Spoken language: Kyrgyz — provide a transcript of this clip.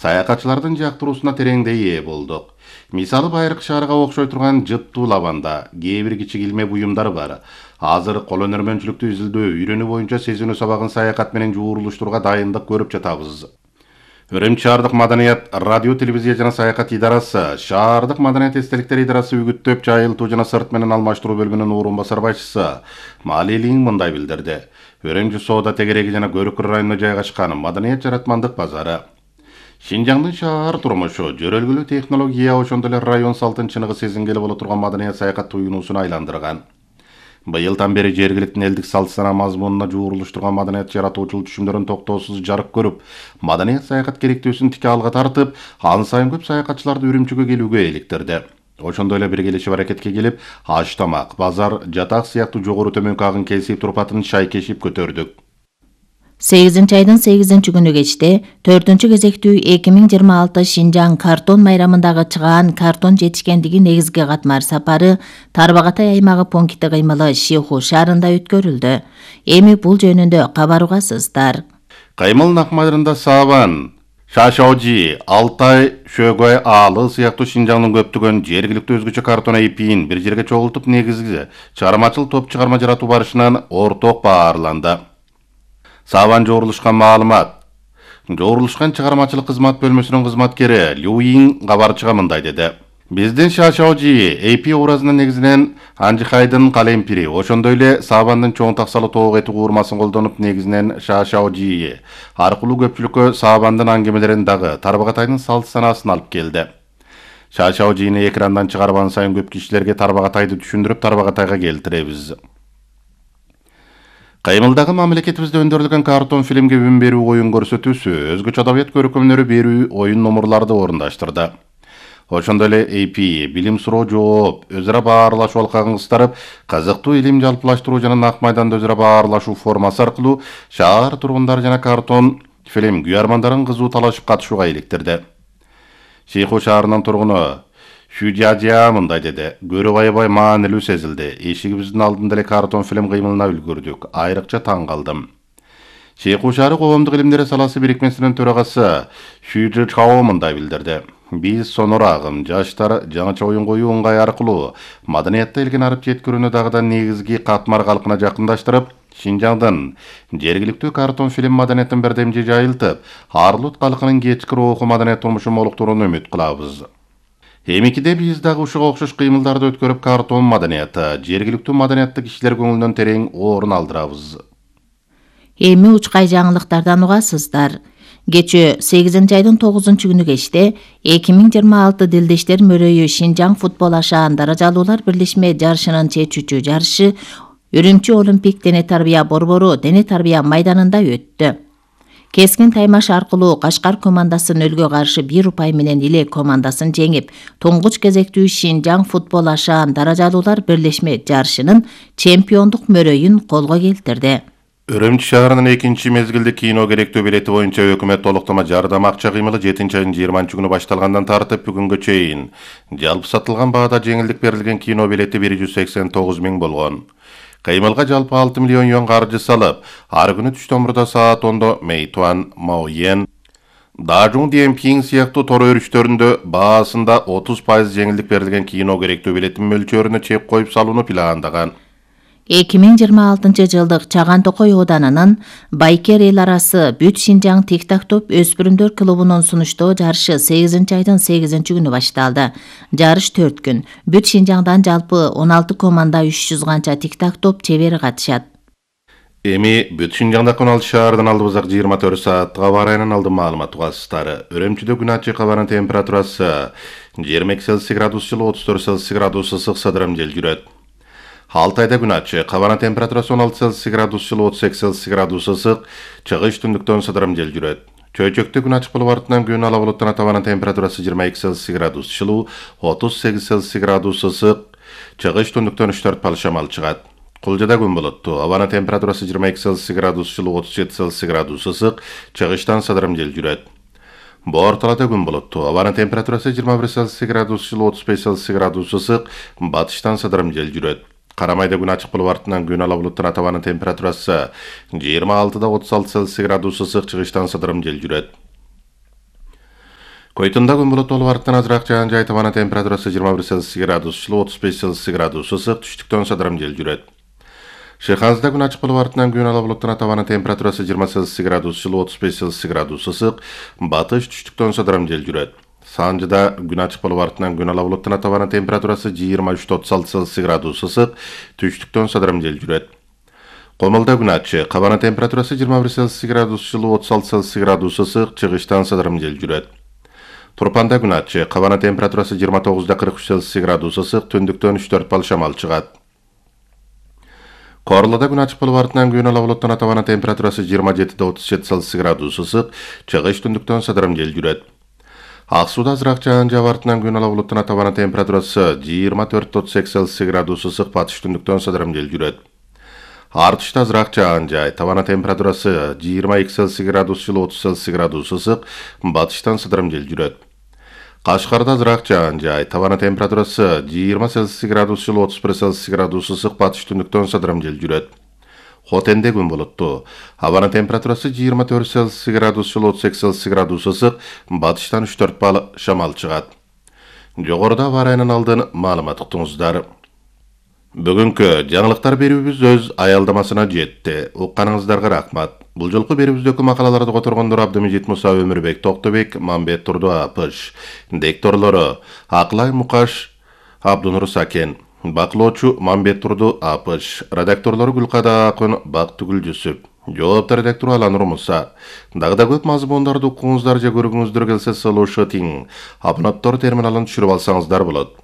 саякатчылардын жактыруусуна тереңдей ээ болдук. Мисалы Байыркы шаарга окшой турган жыттуу лаванда кээ бир кичи килме буюмдар бар. Азыр кол өнөрмөнчүлүктү изилдөө, үйрөнүү боюнча сезинүү сабагын саякат менен жуурулуштурууга дайындык көрүп жатабыз. Үрүмчү шаардык маданият, радио, телевизия жана саякат идарасы, шаардык маданият эстеликтер идарасы үгүттөп, жайылтуу жана сырт менен алмаштыруу бөлүмүнүн орун басар башчысы Малилин мындай билдирди. Үрүмчү соода тегереги жана Көрүкөр районуна жайгашкан маданият жаратмандык базары. Шинжаңдын шаар турмушу, жөрөлгүлүү технология, ошондой эле район салтын чыныгы сезингели боло турган маданият саякат туюнуусуна айландырган. Быйылдан бери жергиликтин элдик салт сана мазмунуна жуурулуштурган маданият жаратуучулук түшүмдөрүн токтоосуз жарык көрүп, маданият саякат керектүүсүн тике алга тартып, ан сайын көп саякатчыларды Үрүмчүгө келүүгө иликтирди. Ошондой эле биргелешип аракетке келип, аш тамак, базар, жатак сыяктуу жогору төмөнкү агын кесип турпатын шайкешип көтөрдүк. 8-айдын 8-күнү кечте 4-кезектүү 2026 Шинжаң картон майрамындагы чыгаан картон жетишкендиги негизги катмар сапары Тарбагатай аймагы пункти кыймылы Шиху шаарында өткөрүлдү. Эми бул жөнүндө кабар угасыздар. Каймыл накмайрында Сабан, Шашаожи, Алтай, Шөгөй аалы сыяктуу Шинжаңдын көптөгөн жергиликтүү өзгөчө картон эпин бир жерге чогултуп негизги чыгармачыл топ чыгарма жаратуу барышынан орток баарланды. Сабан жорулушкан маалымат. Жорулушкан чыгармачылык кызмат бөлмөсүнүн кызматкери Люин кабарчыга мындай деди. Биздин Шашаожи эпи образына негизинен Анжихайдын калемпири, ошондой эле Сабандын чоң таксалы тоок эти куурмасын колдонуп негизинен Шашаожи аркылуу көпчүлүккө Сабандын аңгемелерин дагы Тарбагатайдын салт санаасын алып келди. Шашаожини экрандан чыгарган сайын көп кишилерге Тарбагатайды түшүндүрүп Тарбагатайга келтиребиз. Каймылдагы мамлекетибизде өндөрүлгөн картон фильмге үн берүү оюн көрсөтүүсү, өзгөчө адабият көркөмдөрү берүү оюн номурларды орундаштырды. Ошондой эле AP, билим суроо жооп, өз ара баарлашуу алкагын кыстарып, кызыктуу илим жалпылаштыруу жана нак майданда өз ара баарлашуу формасы аркылуу шаар тургундары жана картон фильм күйөрмандарын кызуу талашып катышууга иликтирди. Шиху шаарынын тургуну Шүдядя мындай деди. Көрүп аябай маанилүү сезилди. Эшигибиздин алдында эле картон фильм кыймылына үлгүрдүк. Айрыкча таң калдым. Шиху шаары коомдук илимдер саласы бирикмесинин төрагасы Шүдя Чао мындай билдирди. Биз сонор агым, жаштар жаңыча оюн коюу ыңгай аркылуу маданиятта элген арып жеткирүүнү дагыдан негизги катмар калкына жакындаштырып, Шинжаңдын жергиликтүү картон фильм маданиятын бердемжи жайылтып, Арлут калкынын кечки руху маданият турмушун молуктурууну үмүт кылабыз. Эмикиде биз дагы ушуга окшош кыймылдарды өткөрүп картон маданияты, жергиликтүү маданиятты кишилер көңүлүнөн терең орун алдырабыз. Эми учкай жаңылыктардан угасыздар. Кечээ 8-айдын 9-күнү кечте 2026 Дилдештер мөрөйү Шинжаң футбол ашаан даражалуулар бирлешме жарышынын чечүүчү жарышы Үрүмчү Олимпик дене тарбия борбору дене тарбия майданында өттү. Кескин таймаш аркылуу Кашкар командасы нөлгө каршы 1 упай менен Иле командасын жеңип, туңгуч кезектүү Шинжаң футбол ашаан даражалуулар бирлешме жарышынын чемпиондук мөрөйүн колго келтирди. Үрүмчү шаарынын 2 мезгилдик кино керектүү билети боюнча өкмөт толуктама жардам акча кыймылы 7-айдын 20-күнү башталгандан тартып бүгүнгө чейин жалпы сатылган баада жеңилдик берилген кино билети 189 000 болгон. Кыймылга жалпы 6 миллион юан каржы салып, ар күнү түштөн мурда саат 10-до Мэйтуан, Маоен, Дажун Диэмпинг сыяктуу тор өрүштөрүндө баасында 30% жеңилдик берилген кино керектүү билетин мөлчөрүнө чек коюп салууну пландаган. 2026 жылдык Чаган Токой Оданынын Байкер эл арасы Бүт Шинжаң тик-так-топ өспүрүмдөр клубунун сунуштоо жарышы 8-айдын 8-күнү башталды. Жарыш 4 күн. Бүт Шинжаңдан жалпы 16 команда 300 канча тик-так-топ чебери катышат. Эми Бүт Шинжаңда 16 шаардан алдыбызак 24 сааттык аба ырайынан алдын маалымат угасыздары. Үрүмчүдө күн ачык, абанын температурасы 20 градус жылы, 34 градус ысык сыдырым жел жүрөт. Алтайда күн ачык, абанын температурасы 16 градус жылы, 38 градус ысык, чыгыш түндүктөн сыдырым жел жүрөт. Чөйчөктө күн ачык болуп артынан күн ала булуттан абанын температурасы 22 градус жылы, 38 градус ысык, чыгыш түндүктөн 3-4 пал шамал чыгат. Кулжада күн булуттуу, абанын температурасы 22 градус жылы, 37 градус ысык, чыгыштан сыдырым жел жүрөт. Борталада күн булуттуу, абанын температурасы 21 градус жылы, 35 градус ысык, батыштан сыдырым жел жүрөт. Карамайда күн ачык болуп артынан күн ала булуттан абанын температурасы 26-36 градус ысык, чыгыштан сыдырым жел жүрөт. Койтунда күн булуттуу арктан азыраак жаан жай, табана температурасы 21 Цельсий градус жылуу, 35 Цельсий градус ысык, түштүктөн садырым жел жүрөт. Шыйханзда күн ачык болуп артынан күн ала булуттан табана температурасы 20 Цельсий градус жылуу, 35 Цельсий градус ысык, батыш түштүктөн садырым жел жүрөт. Санжыда күн ачык болуп артынан күн ала булуттан табана температурасы 23-36 Цельсий градус ысык, түштүктөн садырым жел жүрөт. Комулда күн ачык, кабана температурасы 21 Цельсий градус жылуу, 36 Цельсий градус ысык, чыгыштан садырым жел жүрөт. Турпанда күн ачык, кабана температурасы 29-43 Цельсий градус ысык, түндүктөн 3-4 бал шамал чыгат. Корлоодо күн ачык болуп артынан күн ала булуттан табана температурасы 27-37 Цельсий градус ысык, чыгыш түндүктөн садырым жел жүрөт. Ак сууда азыраак жаан жаап артынан күн ала булуттан табана температурасы 24-38 Цельсий градус ысык, батыш түндүктөн садырым жел жүрөт. Артышта азыраак жаан жай, табана температурасы 22 Цельсий градус жылуу, 30 Цельсий градус ысык, батыштан садырым жел жүрөт. Кашкарда азыраак жаан жай, табана температурасы 20 Цельсий градус жылуу, 31 Цельсий градус ысык, батыш түндүктөн садырым жел жүрөт. Хотенде күн булуттуу, абана температурасы 24 Цельсий градус жылуу, 38 Цельсий градус ысык, батыштан 3-4 бал шамал чыгат. Жогоруда авариянын алдын маалымат уктуңуздар. Бүгүнкү жаңылыктар берүүбүз өз аялдамасына жетти. Укканыңыздарга рахмат. Бул жолку берүүбүздөгү макалаларды которгондор Абдымежит Муса, Өмүрбек Токтобек, Мамбет Турду Апыш. Дикторлору Аклай Мукаш, Абдунур Сакен. Бакылоочу Мамбет Турду Апыш. Редакторлору Гүлкада Акын, Бактыгүл Жүсүп. Жоопту редактору Аланур Муса. Дагы да көп мазмундарды укуңуздар же көргүңүздөр келсе, слушатың. Абонаттар терминалын түшүрүп алсаңыздар болот.